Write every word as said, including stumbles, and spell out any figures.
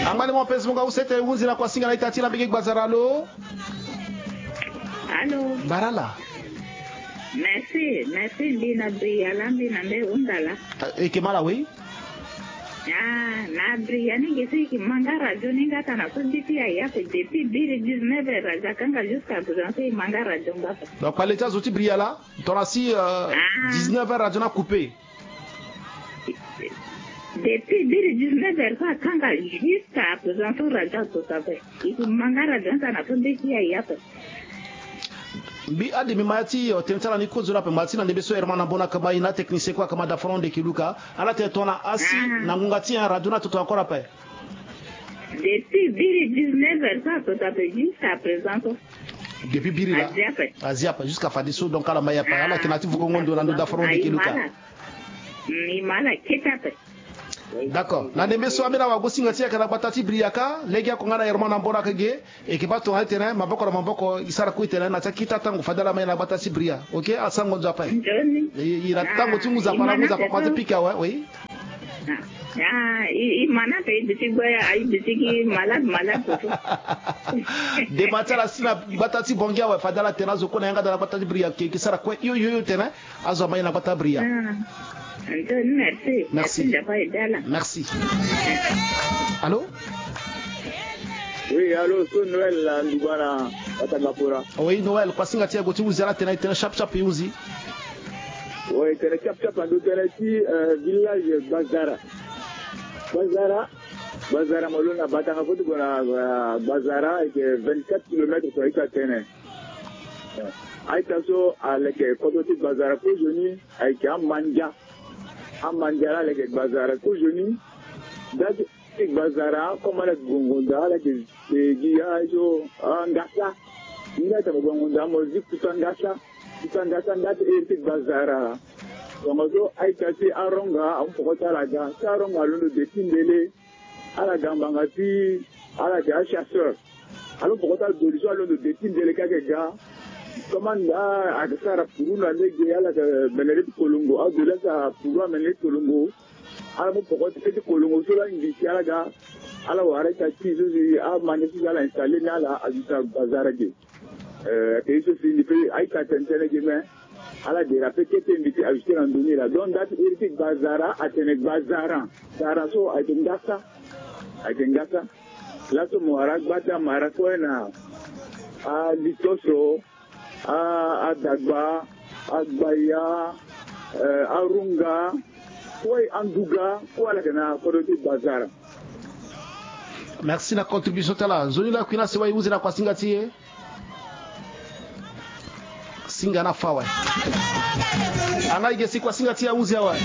Angba ni mo pesi mo nga use tene hunzi na kuasinga na ita ti na mbege gbazara lo. Allô. Barala. Merci, merci mbi na Briala mbi na nde hunda laa. Eke mala we. Ah, na Briala ni ge so eke ma nga radio ni nga tana so mbi ti ya ya pe depuis biri dix-neuf heures aza kanga jusqu'à présent so e ma nga radio nga pe. Donc kpale ti azo ti Briala tona si dix-neuf heures radio ni a coupé. Depuis biri dix-neuf heures so akanga jusqu'à présent so radio azo ti ape. Eke ma nga radio ni tana so mbi ti ya ya pe. Mbi ade mbi ma ya ti tene ti ala ni kozo ni ape ma ti na ndembe so Herman Ambonaka ma e na atechnicien kue akama dafaron ndeke luka. Ala tene tongana asi na ngonga ti nyen radio ni ato tongana kora ape. Depuis biri dix-neuf heures so ato tongana ape jusqu'à présent so. Depuis biri laa azi ape. Azi ape jusqu'à fadeso donc ala ma e ape ala yeke na ya ti vukongo ndo na ndo dafaron ndeke luka. Mbi ma ala kete ape. D'accord na ndembe so ambeni awagosinga ti e ayeke na gbata ti Briaka lege oko nga na Herman Ambonaka ge. Eke baa tongana ti tene maboko na maboko e sara kue ti tene na ti akita tango fade ala ma e na gbata ti Briaka. Ok asango nzo ape. E na tango ti ngu zapa na ngu zapa kua ti pika awe oui. Ah, i, i mana pe i biti gbe, i biti ki malade, malade, toto. Dema ti ala si na gbata ti Bongi awe fade ala tene azo kue na yanga da na gbata ti Briaka ke, ke sara kue yo, yo, yo tene azo ama ye na gbata Briaka. Ah. Anto, merci. Merci. Merci. Allô? Oui, allô, so Noël la nduba na Batanga Fora. Oui, Noël, kuasinga ti e gue ti huzi ala tene, tene sharp sharp i huzi. Oui, tene cap cap ando tene ti, euh, village Bazara. Bazara, Bazara mo lo na Batanga fo ti gue na, euh, Bazara ayeke vingt-quatre kilomètres so ayeke atene. Euh, a-ita so aleke kodro ti Bazara kozoni ayeke amandia. Amandia la aleke Bazara kozoni. Nda ti Gbazara comme ala gongonda ala yeke gi azo angasa. Ni la tene mo gongonda mo zi kuta ngasa. Kuta ngasa nda ti iri ti Gbazara. Tongaso a-ita ti aronga amu poko ti ala ga ti aronga alondo de ti mbele. Ala ga ngbanga ti ala yeke achasseur. Alo poko ti alo doli so alondo de ti mbele kake ga. Comme anda ayeke sara puru na lege ala yeke mene ti kolongo adoli asara puru amene ti kolongo. Ala mu poko ti kete kolongo so la ngi ti ala ga. Ala wara ita ti so si amani so si ala installe ni ala ajuta Gbazara ge. Eh, ake ye so si mbi pe a-ita tene tënë ge me. Ala dera pe kete mbi ti ajuter na ndoni la donc nda ti iri ti Gbazara atene Gbazara. Zara so ayeke ngasa. Ayeke ngasa. Laso mo wara agba ti amara kue na alito so. A, adagba, agbaya, eh, arunga, kue anduga, kue ala yeke na kodro ti Gbazara. Merci na contribution ti ala. Nzoni lakui na sewa e huzi na kuasinga ti e. Singa na fa awe. Anga e ge si kuasinga ti e ahuzi awe.